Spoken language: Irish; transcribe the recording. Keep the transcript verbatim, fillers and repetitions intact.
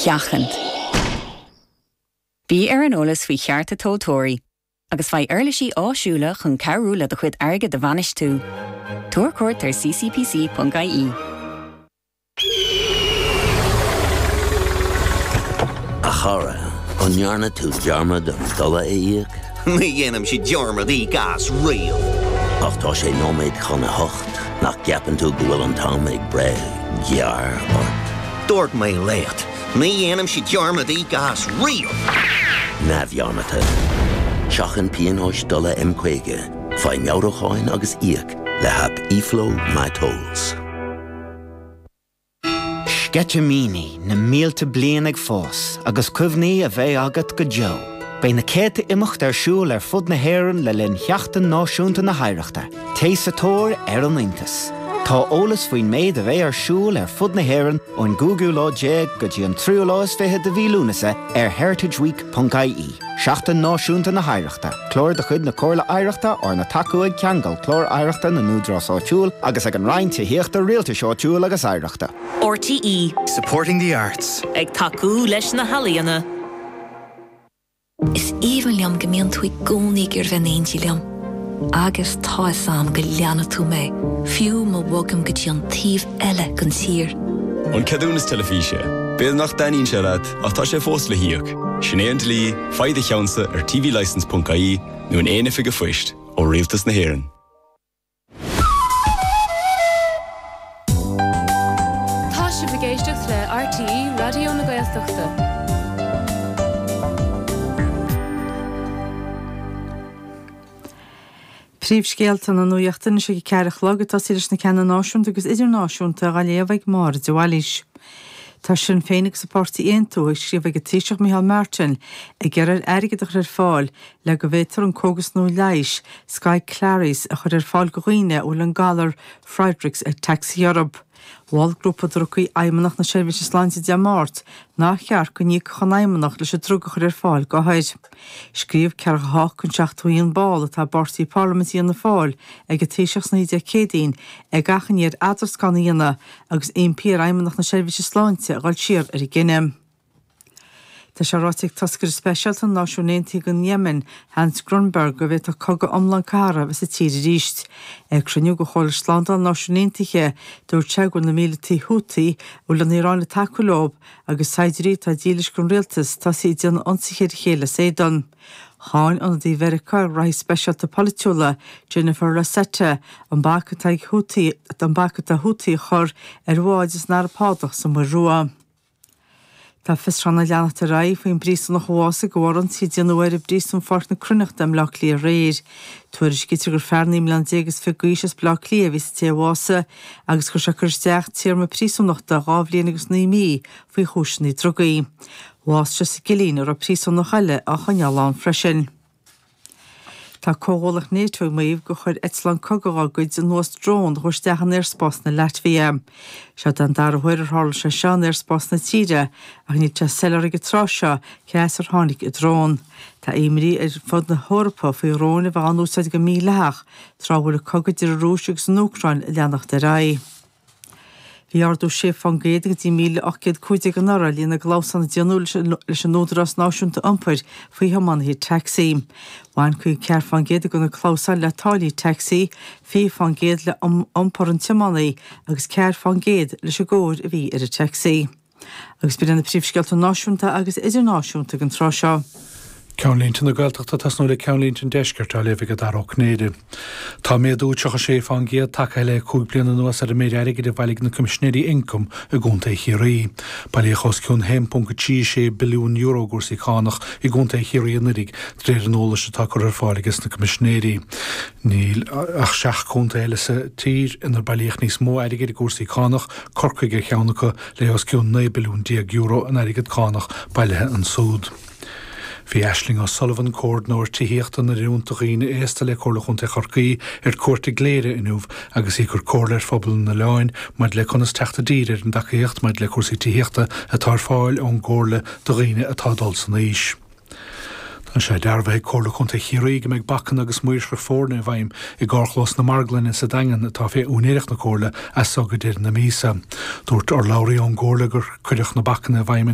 sheachaint. Bí ar an eolas faoi chearta tomhaltóirí, agus faigh uirlisí áisiúla chun cabhrú le do chuid airgid a bhainistiú. Tabhair cuairt ar ccpc.ie. A chara, an ndearna tú dearmad an dola a íoc? Ní dhéanaimse dearmad íoc as riamh. Ach tá sé nóiméad chun a hocht nach gceapann tú go bhfuil an t-am ag breith gearr ort. Dúirt mé leat, ní dhéanaimse dearmad íoc as riamh. Neamhdhearmadta. Seachain pionóis dola M caoga, faigh meabhrúcháin agus íoc le haip eFlow MyTolls. Sceitimíní na mílte bliain ag fás agus cuimhní a bheidh agat go deo. Beidh na céadta imeacht ar siúl ar fud na hÉireann le linn Sheachtain Náisiúnta na hOidhreachta, Téigh sa tóir ar an iontas. Tá eolas faoin méid a bheidh ar siúl ar fud na hÉireann ón gcúigiú lá déag go dtí an tríú lá is fiche de mhí Lúnasa ar heritageweek.ie. Seachtain Náisiúnta na hOidhreachta, Clár de chuid na Comhairle Oidhreachta arna tacú ag Ceangal Clár Oidhreachta na nÚdarás Áitiúil agus ag an Roinn Tithíochta Rialtais Áitiúil agus Oidhreachta. RTÉ Supporting the arts. Ag tacú leis na healaíona. Is aoibhinn liom go mbíonn tú i gcónaí ag iarraidh bheith in éindí liom. Agus tá a fhios agam go leanfaidh tú mé, fiú má bhogaim go dtí an taobh eile den tír. An ceadúnas teilifíse. B'fhéidir nach dtaitníonn sé leat ach tá sé fós le híoc. Sin é an dlí, faigh do cheannsa ar tvlicence.ie nó in aon oifig phoist ó Rialtas na hÉireann. Tá sibh ag éisteacht le RTÉ Raidió na Gaeltachta. Príomhscéalta na nuachta anois ag a ceathair a chlog ag tosaí leis na ceanna náisiúnta agus idirnáisiúnta á léamh ag Máire de Bhailís. Tá Sinn Féin agus an páirtí Aontú ag scríobh ag an Taoiseach Micheál Martin ag iarraidh airgead a chur ar fáil le go bhféadfar an cógas nua leighis Skyclarys a chur ar fáil do dhaoine a bhfuil an galar Friedreich's ataxia orthu. Mhol grúpa drugaí Fheidhmeannacht na Seirbhíse Sláinte Dé Máirt nár cheart go n-íocfadh an Fheidhmeannacht leis an drug a chur ar fáil d'othair. Scríobh ceathracha a hocht den seachtó a haon ball atá i bpáirtí Parlaiminte Fhianna Fáil ag an Taoiseach san oíche Dé Céadaoin ag achainí air eadroscán a dhéanamh agus impí ar Fheidhmeannacht na Seirbhíse Sláinte a dhul siar ar an gcinneadh. Tá sé ráite ag toscaire speisialta na Náisiún Aontaithe don Yemen, Hans Grundberg, go bhféadfadh cogadh iomlán cathartha a bheith sa tír arís. Ag cruinniú de Chomhairle Slándála na Náisiún Aontaithe, dúirt sé go bhfuil na míleataigh Houthi, a bhfuil an Iaráin ag tacú leo, agus saighdiúirí atá dílis don rialtas, tosaithe ag déanamh ionsaithe ar a chéile as éadan. Cháin ionadaí Mheiriceá ar ghraithí speisialta polaitiúla, Jennifer Rosetta, an bac atá ag Houthi an bac atá Houthi a chur ar bháid as an Araib Shádach sa Mhuir Rua. Tá fiosrúchán ag leanacht ar aghaidh faoin bpríosúnach a bhásaigh de bharr ionsaí a déanadh air i bpríosún Pháirc na Cruithneachta i mBleá Cliath aréir. Tuairiscítear gur fear naoi mbliana déag is fiche d'aois as Bleá Cliath a bhí sa té a bhásaigh agus go raibh sé ag cur isteach téarma príosúnachta dhá bhliain agus naoi mí faoi chúiseanna drugaí. Bhásaigh sé sa gcillín a raibh príosúnach eile á choinneáil ann freisin. Tá comhghuallacht NATO ag maíomh gur chuir eitleán cogaidh dá gcuid anuas drón a chuaigh isteach in aerspás na Laitvia. Seo den dara huair ar tharla sé seo in aerspás na tíre ach níl sé soiléir ag an tráth seo cé as ar tháinig an drón. Tá imní ar fud na hEorpa faoi dhróin a bheith á n-úsáid go mídhleathach tráth a bhfuil an cogadh idir an Rúis agus an Úcráin ag leanacht ar aghaidh. Bhí ardú sé fán gcéad go dtí míle ocht gcéad cúig déag anuraidh ar líon na gclamhsán a déanadh leis an Údarás Náisiúnta Iompair faoi thiománaithe tacsaí. Bhain caoga ceathair fán gcéad de na clamhsáin le táillí tacsaí, fiche fán gcéad le iompar an tiománaí agus ceathair fán gcéad leis an gcóir a bhí ar an tacsaí. Agus b'in iad na príomhscéalta náisiúnta agus idirnáisiúnta ag an tráth seo. Ceannlínte na Gaeltachta ag tosnú le Ceannlínte an Deiscirt á léamh ag Dara Ó Cinnéide. Tá méadú tríocha sé fán gcéad tagtha le cúig bliana anuas ar an méid airgid a bhailigh na Coimisinéirí Ioncaim i gContae Chiarraí. Bailíodh os cionn haon ponc a trí sé billiún euro i gcúrsaí cánach i gContae Chiarraí anuraidh, de réir an eolais atá curtha ar fáil aige na Coimisinéirí. Níl ach seacht gcontae eile sa tír inar bailíodh níos mó airgid i gcúrsaí cánach, Corcaigh ar cheann acu, le os cionn naoi billiún déag euro in airgead cánach bailithe ansúd. Bhí Aisling O'Sullivan, comhordaitheoir tithíochta na nOiliúint do dhaoine aosta le Comhairle Chontae Chorcaí ar cuairt i gCléire inniu agus í ag cur comhairle ar phobal an oileáin maidir le conas teacht i dtír ar an dtacaíocht maidir le cúrsaí tithíochta atá ar fáil ón gComhairle do dhaoine atá ag dul san aois. Tá sé dearbhaithe ag Comhairle Contae Chiarraí go mbeidh bacanna agus maoirseacht foirne i bhfeidhm i gcarrchlós na Marglainne sa Daingean atá fé úinéireacht na Comhairle as so go deireadh na míosa. Dúirt urlabhraí ón gComhairle gur cuireadh na bacanna i bhfeidhm an